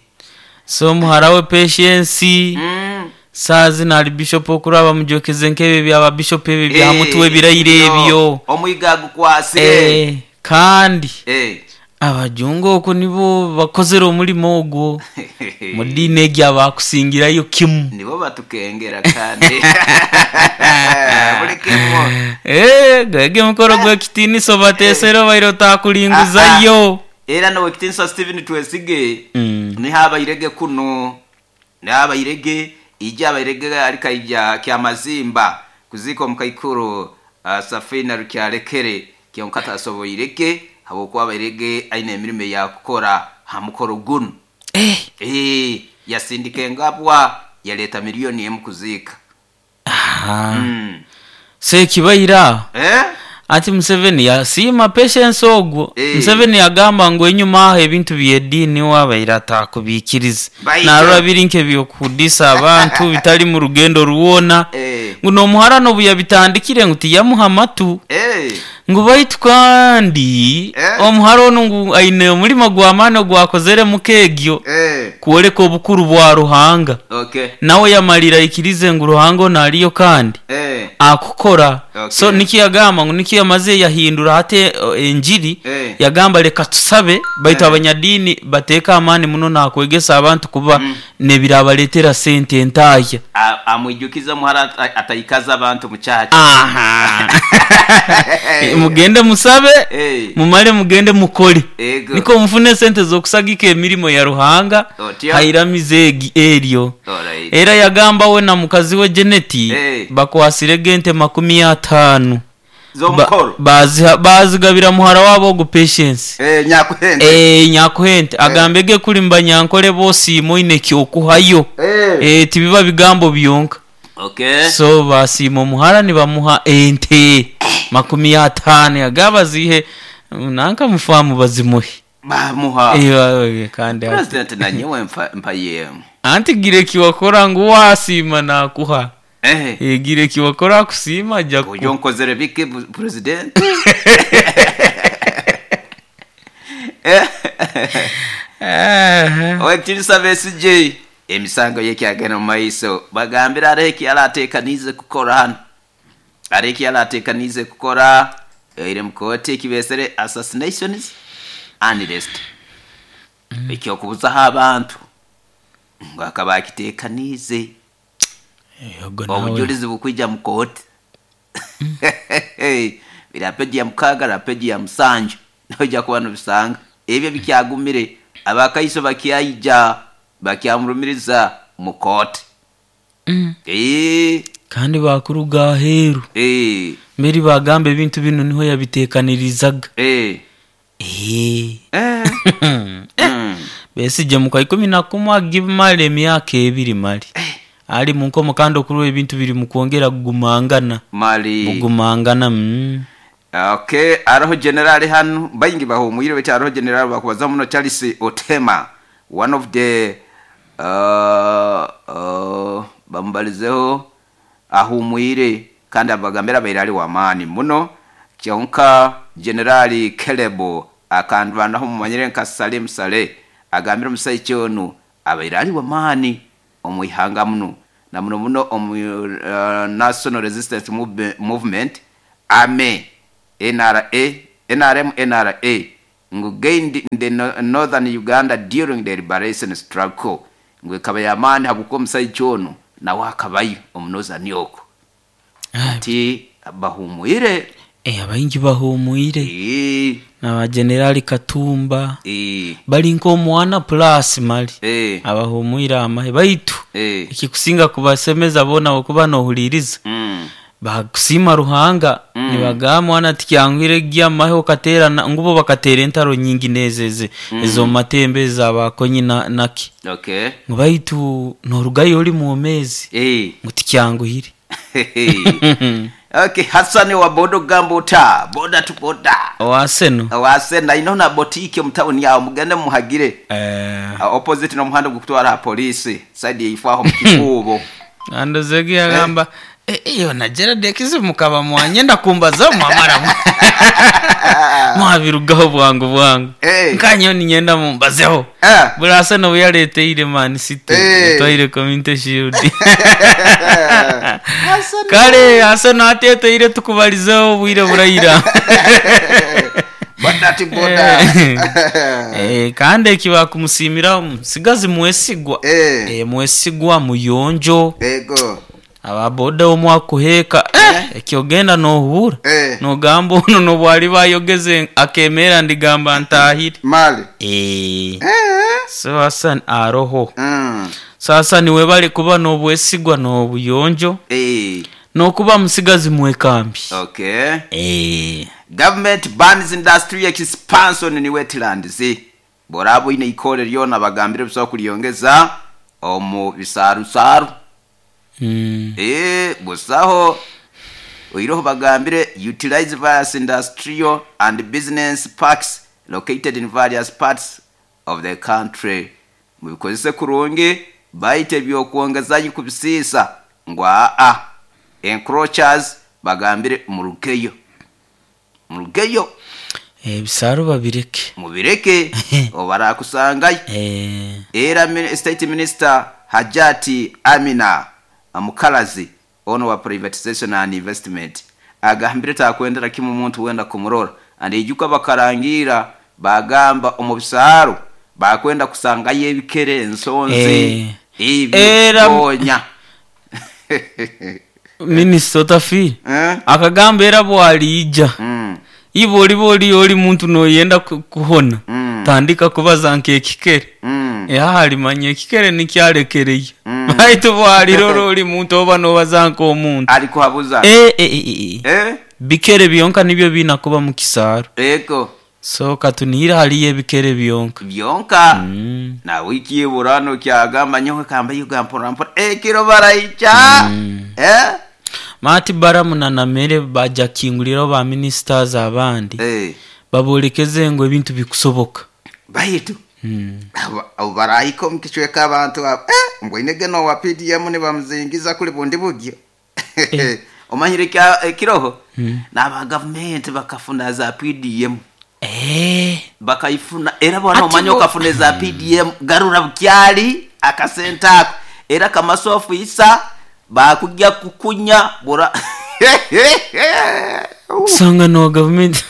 Speaker 2: So omuhara we Patience
Speaker 1: Mm.
Speaker 2: saazi nali bishop okuraba mujokeze nk'ebyo byaba bishop ebyo bya
Speaker 1: Eh,
Speaker 2: mutwe birayiro
Speaker 1: no.
Speaker 2: ebyo
Speaker 1: Omwiga agukwasire.
Speaker 2: Eh, kandi
Speaker 1: Eh.
Speaker 2: abajungu okwo nibo bakozere omulimo ogwo mu ddiini egyo abakusingirayo kimu.
Speaker 1: Nibo batukengera kandi buli kimu.
Speaker 2: Eh, gwege mukoro gw'ekitiinisa obateesere obaire otakulinguzayo.
Speaker 1: Era nowekitinisa Stephen Twesige
Speaker 2: Mm.
Speaker 1: niho abairege kuno niho abairege ijja abairege arikaija kyamazimba kuzika omukaikuru uh, Safina Rukyalekere kyonka tasoboirege habwokuba abairege aine emirimo eyakukora ha mukoro guno.
Speaker 2: Eh,
Speaker 1: Eh, yasindika engabwa yaleeta miliyoni emu kuziika.
Speaker 2: ah.
Speaker 1: Mm.
Speaker 2: Sekibaira
Speaker 1: Eh?
Speaker 2: ati Museveni yasiima Patience ogwo.
Speaker 1: Eh.
Speaker 2: Museveni yagamba ngu enyuma aho ebintu by'eddiini wabaire atakubiikiriza
Speaker 1: Baija.
Speaker 2: narora biri nk'ebyokudisa abantu bitali mu rugendo rwona
Speaker 1: Eh.
Speaker 2: ngu n'omuhara n'obu yabitandikire ngu tiyamuha amatu
Speaker 1: Eh.
Speaker 2: ngu baitu kandi
Speaker 1: Eh.
Speaker 2: omuhara onu ngu aine omulimo gw'amaani ogwakozere mukeegyo
Speaker 1: Eh.
Speaker 2: kwoleka obukuru bwa Ruhanga.
Speaker 1: Okay.
Speaker 2: Nawe yamalira aikirize ngu Ruhanga ono aliyo kandi
Speaker 1: Eh.
Speaker 2: akukora.
Speaker 1: Okay.
Speaker 2: So nikyo yagamba ngu nikyo yamaze yahindura hati eh, enjiri
Speaker 1: Eh.
Speaker 2: yagamba leka tusabe baitu
Speaker 1: Eh.
Speaker 2: abanyadiini bateeka amaani muno nakwegesa abantu kuba mm. nebirabaletera sente entaaya.
Speaker 1: A- amwijukiza muhara ata- ataikaza abantu muchacha.
Speaker 2: Aha. Mugende musabe
Speaker 1: Eh.
Speaker 2: mumale mugende mukole
Speaker 1: Ego.
Speaker 2: niko mufune sente zokusagika emirimo ya Ruhanga.
Speaker 1: Otyo.
Speaker 2: Hairamize egi- eryo.
Speaker 1: Alright.
Speaker 2: Era yagamba we na mukazi we Jeneti
Speaker 1: Eh.
Speaker 2: bakwasire ente makumi ataano
Speaker 1: Z'omukoro.
Speaker 2: baziha bazigabira muhara wabo ogu Patience.
Speaker 1: Eh, nyakuhende.
Speaker 2: Eh, nyakuhente agambe ge kuli mbanyankole bosiima oine kyokuhayo.
Speaker 1: Eh.
Speaker 2: Eh, tibiba bigambo byonka.
Speaker 1: Okay.
Speaker 2: So basiima omuhara nibamuha ente makumi ataano agaba zihe nanka mufamu bazimuhe.
Speaker 1: Bamuha.
Speaker 2: Eh, eh, kandi ati-
Speaker 1: President nanyewe mpa mpayemu.
Speaker 2: anti gira ekiwakora ngu wasiima nakuha.
Speaker 1: Eh.
Speaker 2: Eh, gira ekiwakora akusiima ajja
Speaker 1: Ujo
Speaker 2: kukuha.
Speaker 1: nkozere biki bu- president? Eh.
Speaker 2: Eh,
Speaker 1: Owekitinisa Besigye emisango yekyagenda mu maiso bagambira areho ekyarateekaniize kukora hano areho ekyarateekaniize kukora ere mukooti ekibesere assassinations unrest ekyokubuzaho abantu ngu akaba akiteekaniize.
Speaker 2: Ogo nawe.
Speaker 1: Obujulizi bukwija mu kooti bira peji ya mukaaga na peji ya musanju noija kuba nobisanga ebyo bikyagumire abakaiso bakyaija bakyamurumiriza mu kooti.
Speaker 2: Mm.
Speaker 1: Eh,
Speaker 2: kandi bakuruga aheeru
Speaker 1: eh,
Speaker 2: mberi bagamba ebintu bino niho yabiteekanirizaga.
Speaker 1: eh,
Speaker 2: Eh.
Speaker 1: eh. Mm.
Speaker 2: Besigye mu ikumi na kumwe agimara emyaka ebiri mali ali munkomo kandi okurwa ebintu biri mukwongera kugumangana.
Speaker 1: Mali
Speaker 2: kugumangana mm.
Speaker 1: Okay, aroho generali hano baingi bahumwire beti aroho generali bakubaza muno Charles Otema one of the uh, uh, bamubalizeho ahumwire kandi abagambira abaire ali wamaani muno kyonka generali Caleb akandwanaho mumanyire nka Salim Saleh agambira omusaija onu abaire ali wamaani omwihanga muno na muno muno omu uh, National Resistance Move- Movement ame N R A N R M N R A ngu gained in the no- northern Uganda during the liberation struggle ngu ekaba yamaani habwokuba omusaija onu nawe akabayo omu northern okwo
Speaker 2: Ah,
Speaker 1: ti bahumwire.
Speaker 2: Eh, abaingi bahumwire
Speaker 1: Eh,
Speaker 2: n'abagenerali Katumba
Speaker 1: eh,
Speaker 2: bali nk'omwana plus mali
Speaker 1: eh,
Speaker 2: abahumwire amahe baitu
Speaker 1: eh,
Speaker 2: ekikusinga kubasemeza boona okuba nohuliriza
Speaker 1: mm,
Speaker 2: bakusiima Ruhanga
Speaker 1: Mm.
Speaker 2: nibagamba mwana tikyanguhire gyamahe okateerana ngubo bakateera entaro nyingi nezeze ez'omumatembe ezabakonyi na- naki
Speaker 1: okay
Speaker 2: ngu baitu norugayo oli mwomezi
Speaker 1: eh.
Speaker 2: ngu tikyanguhire.
Speaker 1: Okay, Hassan wa bodo gambota boda to boda
Speaker 2: Owaseno.
Speaker 1: Wasena ino na botike mu town yawo mugende muhagire.
Speaker 2: Eh
Speaker 1: Uh, opposite n'omuhanda gukutwara polisi side yifwaho mu kikubo.
Speaker 2: Andozegi yagamba eh iyo na Gerard yakize mukaba mwanyenda kumbaza mwamara mwabirugaho bwangu bwangu.
Speaker 1: Eh.
Speaker 2: Nkanyo ninyenda mumbazeho.
Speaker 1: Eh.
Speaker 2: Burasa no yaleteire Man City
Speaker 1: Eh.
Speaker 2: twaire Community Shield.
Speaker 1: Hassan
Speaker 2: Kale Hassan ateteire tukubalizeho bwire burayira.
Speaker 1: Boda to boda.
Speaker 2: Eh, kandi ekiba kumusimira musigazi mwesigwa.
Speaker 1: Eh.
Speaker 2: Eh, mwesigwa muyonjo.
Speaker 1: Ego.
Speaker 2: Ababoda omwakuheka eh, ekyogenda nohura
Speaker 1: Eh.
Speaker 2: nogamba ono nobwali bayogeze akemera ndigamba ntahire.
Speaker 1: Mali.
Speaker 2: Eh.
Speaker 1: Eh.
Speaker 2: So Hassan aroho.
Speaker 1: Mm.
Speaker 2: So Hassan webale kuba n'obwesigwa n'obuyonjo
Speaker 1: Eh.
Speaker 2: n'okuba musigazi mwekambi.
Speaker 1: Okay.
Speaker 2: Eh.
Speaker 1: Government bans industry expansion in wetlands. Borabo ine ikore lyona bagambire busobola kulyongeza omu bisarusaru.
Speaker 2: Mm.
Speaker 1: Eh, busaho oiroho bagambire utilize various industrial and business parks located in various parts of the country. Mubikozese kurungi baite byokwongezayo kubisiisa ngu aa encroachers bagambire murugeyo murugeyo.
Speaker 2: Ebisaaru babireke.
Speaker 1: Mubireke obarakusangayo.
Speaker 2: Eh.
Speaker 1: Era mi- state minister Hajati Amina Mukalazi ono wa privatization and investment agambire takwendera kimu muntu wenda kumurora andijuka bakarangira bagamba omu bisaaro bakwenda kusangayo ebikere ensonzi
Speaker 2: Eh. Era-
Speaker 1: ebyonya.
Speaker 2: Minisita otafiire
Speaker 1: Eh?
Speaker 2: akagamba era bwaliija
Speaker 1: Mm.
Speaker 2: iwe oliba oli oli muntu noyenda ku- kuhona.
Speaker 1: Mm.
Speaker 2: Tandika kubaza nk'ekikere.
Speaker 1: Mm.
Speaker 2: Ehalimanya ekikere nikyalekereye.
Speaker 1: Mm.
Speaker 2: Baitu bwalirora oli muntu oba nobaza nk'omuntu.
Speaker 1: Alikuhabuza.
Speaker 2: Eh, eh, eh, eh.
Speaker 1: Eh?
Speaker 2: Bikere byonka nibyo biina kuba mu kisaaro.
Speaker 1: Ego.
Speaker 2: So katunihira haliyo ebikere byonka.
Speaker 1: Byonka.
Speaker 2: Mm.
Speaker 1: Na wiki burano kyagamba nyowe kamba yuga mpora mpora ekiro baraicha.
Speaker 2: Mm.
Speaker 1: Eh?
Speaker 2: Mati Baramu na Namere baja kinguliraho ba ministers abandi.
Speaker 1: Eh.
Speaker 2: Babolekeze ngo ebintu bikusoboka.
Speaker 1: Baitu
Speaker 2: Mm.
Speaker 1: abo- abo barahika omu kicweka abantu abo eh, mbwine geno wa P D M nibamuzingiza kuli bundi bugyo.
Speaker 2: Eh.
Speaker 1: Omanyire kya ekiroho
Speaker 2: Mm.
Speaker 1: n'aba gavumenti bakafuna za P D M.
Speaker 2: Eh.
Speaker 1: Bakayifuna era bwana
Speaker 2: Ati
Speaker 1: omanye
Speaker 2: bo-
Speaker 1: okafuna za P D M garura bukyali akasente ako era kamasofu isa bakujja kukunya bura.
Speaker 2: Usanga no government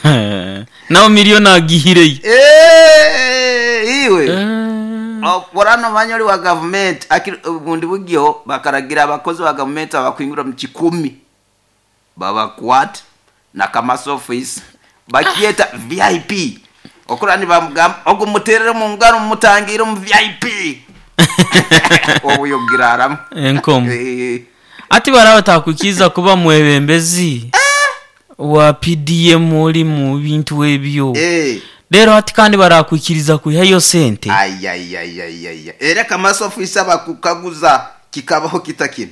Speaker 2: nawo miliyoni agihireyo.
Speaker 1: Eh, iwe.
Speaker 2: Eh.
Speaker 1: Borano manya oli wa gavumenti akiri- bundi bugyo bakaragira abakozi ba gavumenti abakwingura mu kikumi babakwata nakamasofu isa bakyeta V I P okura nibamugamba ogumuterere mu ngaro mumutangire mu V I P obuyogiraramu.
Speaker 2: Enkomo.
Speaker 1: Eh.
Speaker 2: Ati baraba takukiza kuba mwebembezi wa P D M oli mu bintu ebyo.
Speaker 1: Eh.
Speaker 2: Rero ati kandi barakwikiriza kuhayo sente.
Speaker 1: Ai, ai, ai, ai, ai. Era kamasofu isa bakukaguza kikabaho kitakini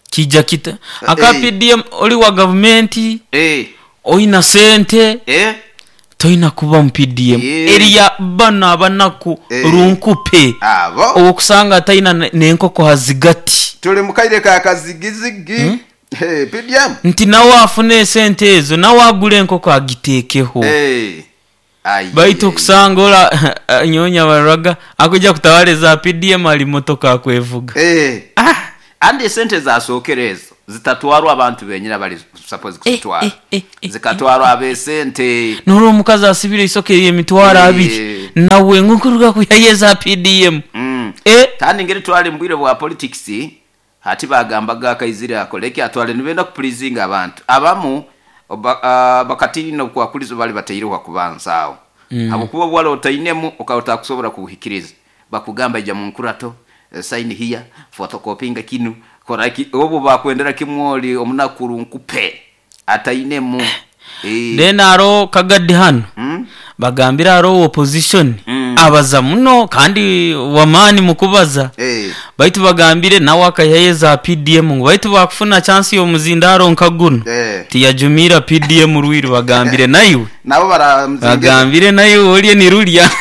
Speaker 2: Kijja kita aka
Speaker 1: Eh.
Speaker 2: P D M oli wa gavumenti
Speaker 1: Eh.
Speaker 2: oyina sente
Speaker 1: Eh.
Speaker 2: toyina kuba mu P D M.
Speaker 1: Eh.
Speaker 2: Eriya bano abanaku
Speaker 1: Eh.
Speaker 2: runkupe.
Speaker 1: Abo.
Speaker 2: Okusanga tayina ne- n'enkoko hazigati.
Speaker 1: Tuli mu kaire ka kazigizigi.
Speaker 2: Hmm?
Speaker 1: Hey, P D M.
Speaker 2: Nti nawe afune esente ezo nawe agule enkoko agiteekeho.
Speaker 1: Eh. Ai.
Speaker 2: Baitu okusanga ola nyonya baraga akujja kutawala eza P D M ali motoka akwevuga.
Speaker 1: Eh.
Speaker 2: Ah.
Speaker 1: Andi esente zasookera ezo zitatwarwa abantu benyini abali suppose kuzitwara.
Speaker 2: Eh, eh, eh, eh,
Speaker 1: zikatwarwa ab'esente.
Speaker 2: Nolwo omukazi asibira eisoke emitwaro
Speaker 1: Eh.
Speaker 2: abiri nawe nkuruga kuyayo eza P D M.
Speaker 1: Mm.
Speaker 2: Eh.
Speaker 1: Kandi ngeri twali mbwire bwa politics hati bagambaga akaizire akoleke atwale nibenda kuplizinga abantu abamu oba, uh, bakatino kwakulizo bali bateireho kubanza awo. Mm. Abukuba bwala otainemu okauta kusobora kuhikiriza bakugamba ija mu nkurato sign here photocopying kinu koraki obo bakwendera kimwoli omunakuru nkupe atainemu. Eh.
Speaker 2: Then aro kagadi hano.
Speaker 1: Mm?
Speaker 2: Bagambira aro opposition.
Speaker 1: Mm.
Speaker 2: Abaza muno kandi wamani mukubaza.
Speaker 1: Eh.
Speaker 2: Baitu bagambire nawe akayihayo za P D M ngu baitu bakufuna chance y'omuzindaro nka guno.
Speaker 1: Eh.
Speaker 2: Tiyajumira P D M rwiru bagambire nayo.
Speaker 1: Nabo baramzingira.
Speaker 2: Bagambire nayo oliye ni rulya.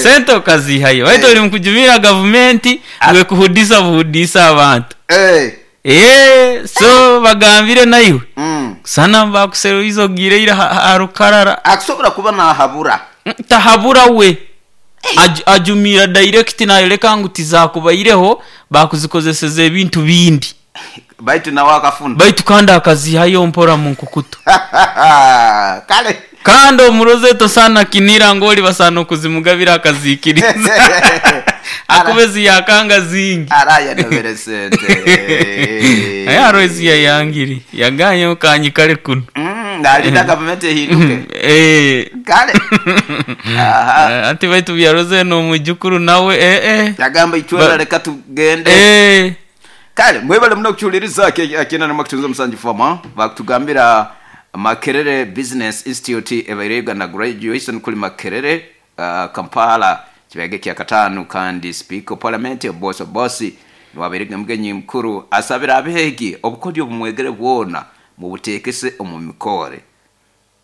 Speaker 2: Sente okazihayo. Baitu oli mukujumira gavumenti gwe kuhudisa buhudisa abantu.
Speaker 1: Eh.
Speaker 2: Eh, so bagambire nayo.
Speaker 1: Mm.
Speaker 2: Sana bakuseruizo gireira harukarara.
Speaker 1: Akusobora kuba nahabura.
Speaker 2: Tahabura we. Aj, ajumira direct nayo leka ngu tizakubaireho bakuzikozeseza ebintu bindi.
Speaker 1: Baitu nawe akafuna.
Speaker 2: Baitu kandi akazihayo mpora mu nkukutu.
Speaker 1: Kale.
Speaker 2: Kandi omurozeto sana kinira ngoli basana okuzimugabira akazikiriza. Akubezi yakanga zingi.
Speaker 1: Araya nobere sente.
Speaker 2: Aya roezi ya yangiri. Yaganye kanyikale kuno.
Speaker 1: Mm, nalida government ehinduke.
Speaker 2: Eh.
Speaker 1: Kale. Aha.
Speaker 2: Anti baitu byaroze no mujukuru nawe eh eh.
Speaker 1: Yagamba itwela leka tugende.
Speaker 2: Eh.
Speaker 1: Kale mwebale muno kuchuliriza akina na makutunza musanji foma bakutugambira Makerere Business Institute ebaire Uganda graduation kuli Makerere uh, Kampala kibege kya katano kandi speaker parliament boss boss niwaberega mugenyi mukuru asabira abehegi obukodyo bumwegere bwona mu butekese omu mikore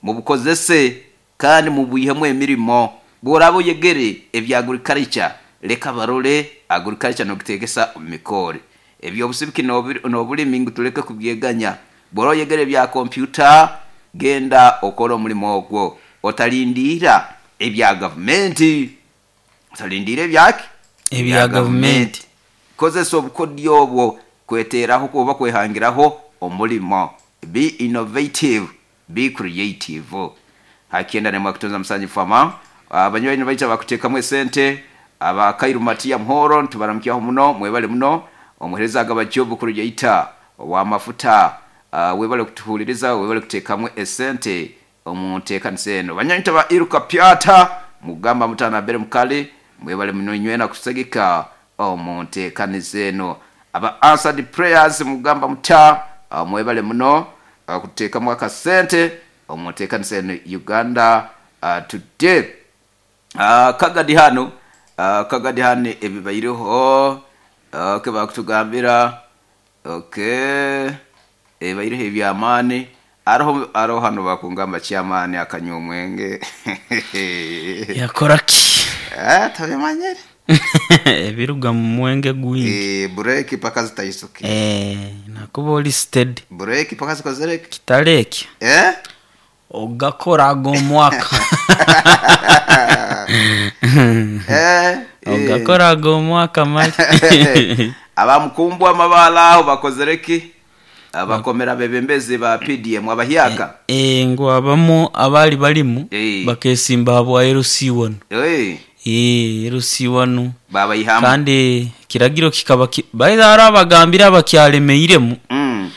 Speaker 1: mu bukozese kandi mu bwihemu emirimo bworabo yegere ebya agriculture leka barole agriculture no kutekesa omu mikore ebyo obusibiki n'obulimi ngu tuleke kubyeganya bworo yegere bya computer genda okora omulimo ogwo otalindira ebya government otalindira ebyaki
Speaker 2: ebya government
Speaker 1: kozesa obukodyo obwo kweteraho kuba kwehangiraho omulimo. Be innovative, be creative. Hakienda nemwa kutunza musanyi fama abanywanyi baita bakutekamu esente abakairu Matia Mhoro ntubaramkiyaho muno mwebale muno omuhereza agabajobu kurujaita wa mafuta uh, webale kutuhuliriza webale kutekamu esente omuntekanisa eno banywanyi ba Iruka Pyata mugamba mutana bere mukali mwebale muno nywena kusegeka omuntekanisa eno aba answered prayers mugamba muta uh, mwebale muno uh, kutekamu akasente omuntekanisa eno Uganda uh, today uh, kagadi hano uh, kagadi hano ebibaireho okay bakutugambira okay ebaireho ebyamani aroho aroho hano bakungamba kyamani akanywa omwenge
Speaker 2: yakora ki
Speaker 1: eh tabimanyere
Speaker 2: ebiruga mu mwenge gwingi
Speaker 1: eh break paka zitayisuki
Speaker 2: eh nakuba oli steady
Speaker 1: break paka zikozereke
Speaker 2: kitareke
Speaker 1: eh
Speaker 2: ogakora agomwaka
Speaker 1: eh
Speaker 2: ogakora agomwaka mali
Speaker 1: abamukumbwa amabala aho bakozereki abakomera bebembezi ba P D M abahyaka
Speaker 2: eh ngo abamu abali balimu
Speaker 1: eh.
Speaker 2: bakesimba habwa L C one
Speaker 1: eh
Speaker 2: eh L C one
Speaker 1: baba ihamu
Speaker 2: kandi kiragiro kikaba ki... baida arabagambira abakyalemeiremu
Speaker 1: mm.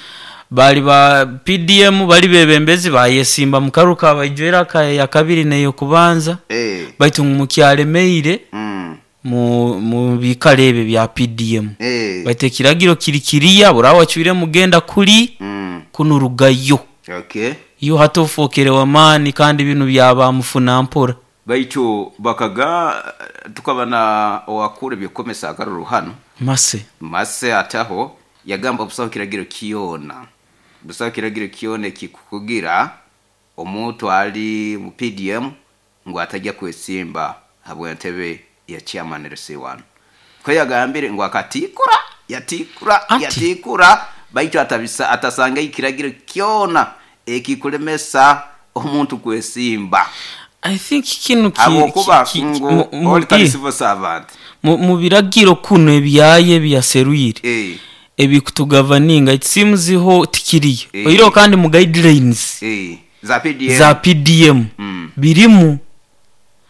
Speaker 2: bali ba P D M bali bebembezi bayesimba mukaruka bajwera ya kabiri neyo kubanza
Speaker 1: eh
Speaker 2: baitu mukyalemeire
Speaker 1: mm.
Speaker 2: mu mu bikalebe bya P D M
Speaker 1: eh
Speaker 2: baite kiragiro kirikiriya burawa chwire mugenda kuli
Speaker 1: mm.
Speaker 2: kunurugayo
Speaker 1: okay
Speaker 2: iyo hatofokere mani kandi binu byaba mufuna mpora
Speaker 1: baitu bakaga tukabana wakure byokomesa akaruru hano
Speaker 2: mase
Speaker 1: mase ataho yagamba busaho kiragiro kiyona busaho kiragiro kiyone kikukugira omuntu ali mu P D M ngo atajya kwesimba habwe entebe ya chairman L C one ko yagambire ngo akatikura yatikura
Speaker 2: Ati.
Speaker 1: yatikura baitu atabisa atasanga ikiragiro kyona ekikulemesa omuntu kwesimba
Speaker 2: I think kinu ki,
Speaker 1: abokuba
Speaker 2: ki, ki,
Speaker 1: ngo
Speaker 2: mu- mu-
Speaker 1: oli kali civil servant
Speaker 2: mu, mu biragiro kuno ebyaye byaseruire
Speaker 1: eh
Speaker 2: ebikutugavaninga it seems ho tikiriyo
Speaker 1: Eh.
Speaker 2: oiro kandi mu guidelines
Speaker 1: eh za P D M
Speaker 2: za P D M
Speaker 1: mm.
Speaker 2: birimu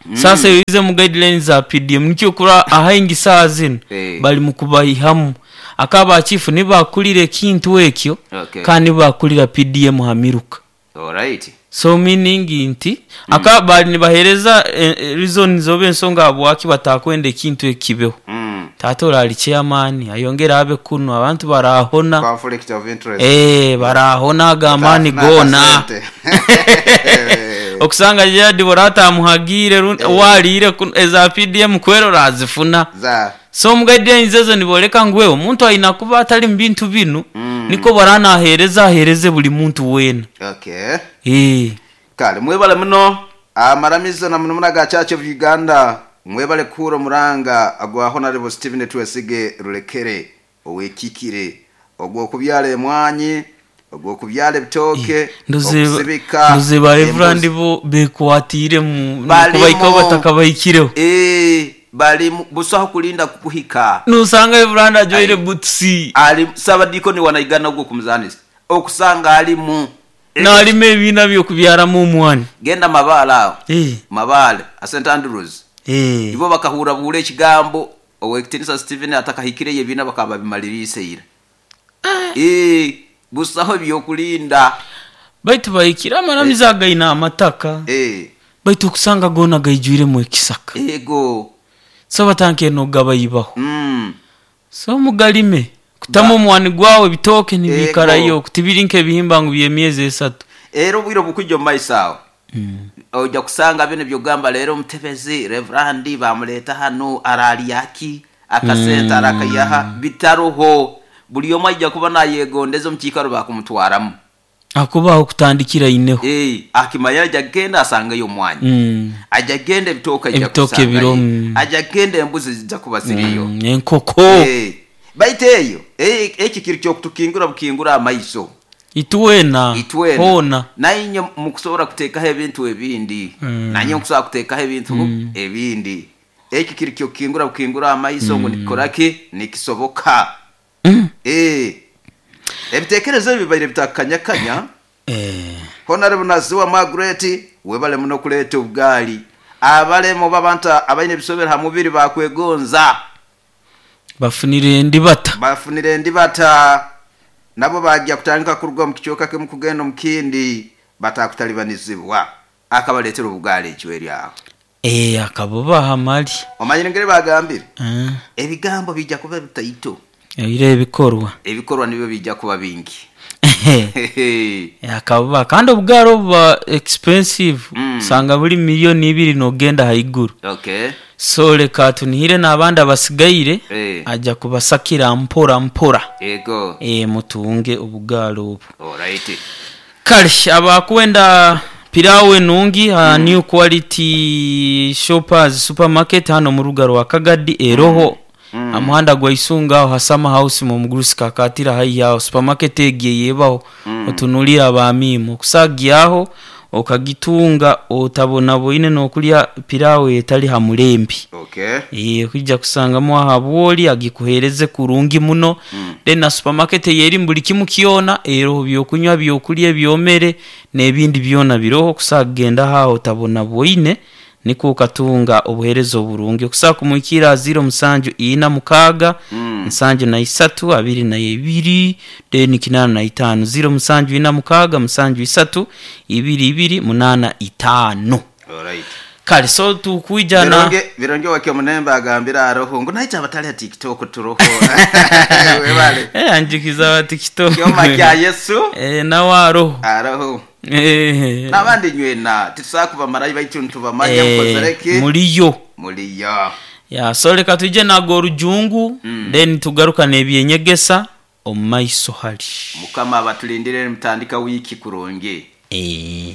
Speaker 2: mm. Sasa yize mu guidelines za P D M nikyo kura ahaingi saa zino
Speaker 1: Eh.
Speaker 2: bali mu kubayihamu akaba chifu nibakulire kintu ekyo
Speaker 1: Okay.
Speaker 2: kandi bakulira P D M hamiruka
Speaker 1: Alright.
Speaker 2: So meaning nti mm. akaba nibahereza eh, eh, reason zobe ensonga abwaki batakwenda ekintu ekibeho
Speaker 1: Mm.
Speaker 2: tato ali chairman ayongera abe kuno abantu barahona
Speaker 1: Conflict of interest.
Speaker 2: eh barahona agamani gona okusanga jadi borata muhagire eh. Walire eza P D M kwero razifuna
Speaker 1: za
Speaker 2: So mu guidelines ezo nibooleka ngu wewe omuntu aina kuba atali mu bintu binu,
Speaker 1: Mm.
Speaker 2: niko baranahereza ahereze buli muntu weena.
Speaker 1: Okay.
Speaker 2: Eh.
Speaker 1: Kale mwebale muno amaramizo na muno ga Church of Uganda, mwebale kuhura omuranga agwa Honorable Stephen Twesige Rulekere owekikire ogw'okubyala emwanyi, ogw'okubyala ebitooke, okusibika
Speaker 2: ndoze ba
Speaker 1: embuzi.
Speaker 2: Reverend bo bekwatire mu
Speaker 1: Balimu.
Speaker 2: kubaikaho batakabahikireho.
Speaker 1: Eh, bali mu- busaho kulinda kukuhika.
Speaker 2: Nusanga Reverend ajoire butsi
Speaker 1: Ali sabadikoni wanaigana ogwo kumuzanisa okusanga alimu
Speaker 2: nalima ebiina byokubyaramu omwani.
Speaker 1: Genda mabaale awo.
Speaker 2: Eh.
Speaker 1: Mabaale a Saint Andrews.
Speaker 2: Eh.
Speaker 1: Ibo bakahura buhura ekigambo owekitinisa Stephen atakahikireyo ebiina bakaba bimaliriise ira. Eh, busaho byokulinda.
Speaker 2: Baitu bahikire amaramizo againa amataka.
Speaker 1: Eh.
Speaker 2: Baitu okusanga goona gaijwiremu ekisaka.
Speaker 1: Ego.
Speaker 2: So batanke nogabayibaho.
Speaker 1: Mm.
Speaker 2: So mugalime kutamu omwani gwawe ebitooke nibiikarayo
Speaker 1: Ego.
Speaker 2: kutibiri nk'ebihimba ngu by'emyezi esatu.
Speaker 1: Era obwire obukujja omu maiso awo ojja kusanga bino byogamba leero omutebezi reverandi bamuleeta hano aralyaki akasente arakayaha bitaroho, buli omu ajja kuba nayegondeza omu kiikaro bakumutwaramu.
Speaker 2: Akubaho kutandikira ineho.
Speaker 1: Eh, akimanya ajja kugenda asangeyo omwanya.
Speaker 2: Mm.
Speaker 1: Ajja kugenda ebitooke ajja
Speaker 2: Ebitooke
Speaker 1: kusangayo.
Speaker 2: biro, mm.
Speaker 1: Ajja kugenda embuzi zijja kuba ziriyo.
Speaker 2: Mm, enkoko.
Speaker 1: Eh, baitu eyo eh, eki kiri kyokutukingura bukingura amaiso.
Speaker 2: Itwena
Speaker 1: Itwena
Speaker 2: hoona.
Speaker 1: Nainye mukusobola kuteekaho ebintu ebindi.
Speaker 2: Mm.
Speaker 1: Nanye nkusobola kuteekaho ebintu ebindi. Eki kiri kyokukingura bukingura amaiso ngu nikikoraki nikisoboka.
Speaker 2: Mm.
Speaker 1: Eh, ebitekerezo ebi bibaire bitakanyakanya.
Speaker 2: Eh.
Speaker 1: Honorable Naziwa Margaret webale muno kuleeta obugaali. Abalemu babanta abaine ebisobero ha mubiri bakwegonza.
Speaker 2: Bafunire endibata.
Speaker 1: Bafunire endibata nabo bajja kutandika kuruga mu kicooka kimu kugenda omu kindi batakutalibanizibwa. Akabaleetera obugaali ekyo aho.
Speaker 2: Eh, akabubaha mali.
Speaker 1: Omanyire ngeri bagambire?
Speaker 2: Eh.
Speaker 1: Ebigambo bijja kuba bitaito.
Speaker 2: Ebiro ebikorwa.
Speaker 1: Ebikorwa nibyo bijja kuba bingi.
Speaker 2: Akabuba kandi obugaali obuba expensive.
Speaker 1: Mm.
Speaker 2: Usanga buli miliyoni ibiri nogenda haiguru.
Speaker 1: Okay.
Speaker 2: So leka tunihire n'abandi abasigaire.
Speaker 1: Eh.
Speaker 2: Ajja kubasakira mpora mpora.
Speaker 1: Ego.
Speaker 2: Eh, mutunge obugaali obu.
Speaker 1: Alright.
Speaker 2: Kale abakwenda pilau enungi ha mm. New Quality Shoppers Supermarket hano mu ruga rwa Kagadi eroho.
Speaker 1: Mm.
Speaker 2: Amuhanda gwa Isunga aho Hasama House mu mugurusi kakatira hayi yaho supermarket egiye yebaho.
Speaker 1: Mm.
Speaker 2: Otunulira abamimu kusagiyaho okagitunga otabona boine nokulya pilau etali ha mulembi.
Speaker 1: Okay.
Speaker 2: Eh, kujja kusangamu aha bwoli agikuhereze kurungi muno.
Speaker 1: Mm.
Speaker 2: Then na supermarket yeri mbuli kimu kiona ero byokunywa byokulya byomere n'ebindi byona biroho kusagenda haho tabona boine niko ukatunga obuherezo oburungi okusaka kumwikira zero musanju ina mukaga.
Speaker 1: Mm.
Speaker 2: Nsanju na isatu abiri na ibiri then kinana na itano zero musanju ina mukaga musanju isatu ibiri ibiri munana itano.
Speaker 1: Alright.
Speaker 2: Kale so tukwijana
Speaker 1: Bironge bironge wakyo munembe agambira aroho ngo naita abatali ya TikTok turoho. Webale.
Speaker 2: Eh, anjikiza wa TikTok.
Speaker 1: Kyoma kya Yesu.
Speaker 2: Eh, nawe aroho.
Speaker 1: Aroho.
Speaker 2: Eh.
Speaker 1: N'abandi nywena titusakuba marayi baitu ntubamanya
Speaker 2: Eh,
Speaker 1: mukozereki
Speaker 2: muliyo.
Speaker 1: Muliyo.
Speaker 2: Ya so leka tuje nago orujungu.
Speaker 1: Mm.
Speaker 2: Then tugaruka n'ebyenyegesa omu maiso hali.
Speaker 1: Mukama abatulindire mutandika wiki kurungi.
Speaker 2: Eh.